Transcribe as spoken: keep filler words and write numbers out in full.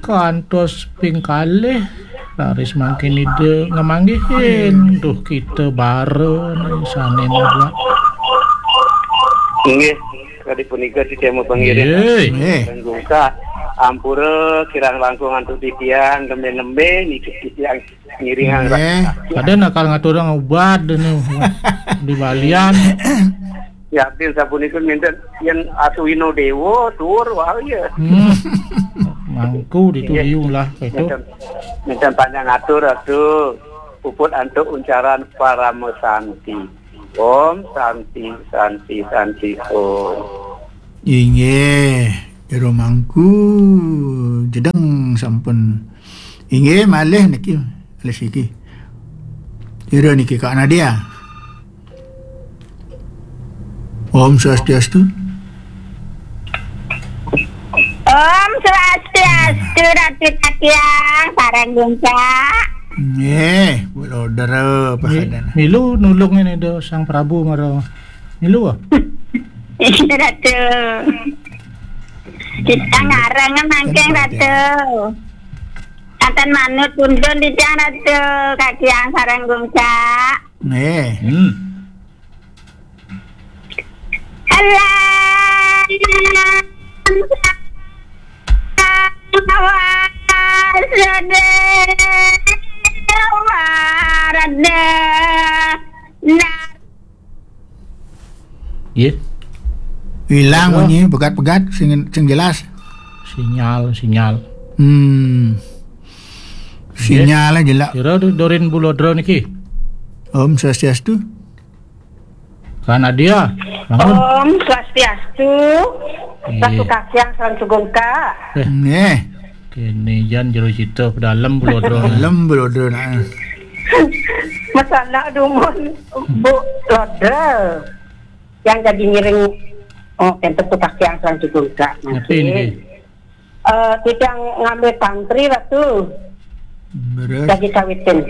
Kantos ping kalih, raris mangkin Ida ngamanggihin. Duh, kita bara nih, sane mabak. Inggih, kadi punika titiang mapangiring. Nggih. Nggih. Gungkah, ampura kirang langkung antuk titiang, nembe-nembe nitih titiang ngiringang. Nggih. Rasa. Ada nakal ngaturang ubat dene di balian. Yakin sapunika minten yen Asuwina Dewa tuur wau ya. Hmm. Mangku ditu. Nggih. Liu lah itu. Minten, minten panjang atur, Ratu. Puput antuk uncaran Parama Santi. Om Santi, Santi, Santi, Om. Inggih, jero mangku jedeng sampun. Inggih, malih niki, malih siki. Jero niki Kak Nadia. Om Swastiastu. Om Swastiastu, Ratu Tatiang, sareng Gungkak. Nggih, Bu Lodra. Mi-, pahadan. Milu nulung ini do Sang Prabu mara. Milu, ah? Iya, Ratu. Kita ngarang mangkeng, Ratu. Kanten manut pundun titiang, Ratu. Katiang sareng Gungkak. Nggih. Hmm. Alam semesta warda. Nggih. Ilang. Apa? Munyi pegat-pegat sing, sing jelas. Sinyal, sinyal. Hmm. Nggih. Sinyal jelas. Kira du-, durin Bu Lodra niki. Om Swastiastu. Kak Nadia, bangun. Om Swastiastu. Iya. Ratu Katiang sareng Gungkak. Eh. Nggih. Kene jan jero cita pedalem Bu Lodra. Pedalem Bu Lodra, nah. Masalah dumun Bu Lodra. Yang jadi ngiring, oh, enten Ratu Katiang sareng Gungkak. Ngerti niki. Eh, titiang ngambil tantri, Ratu. Beres. Lagi kawitin.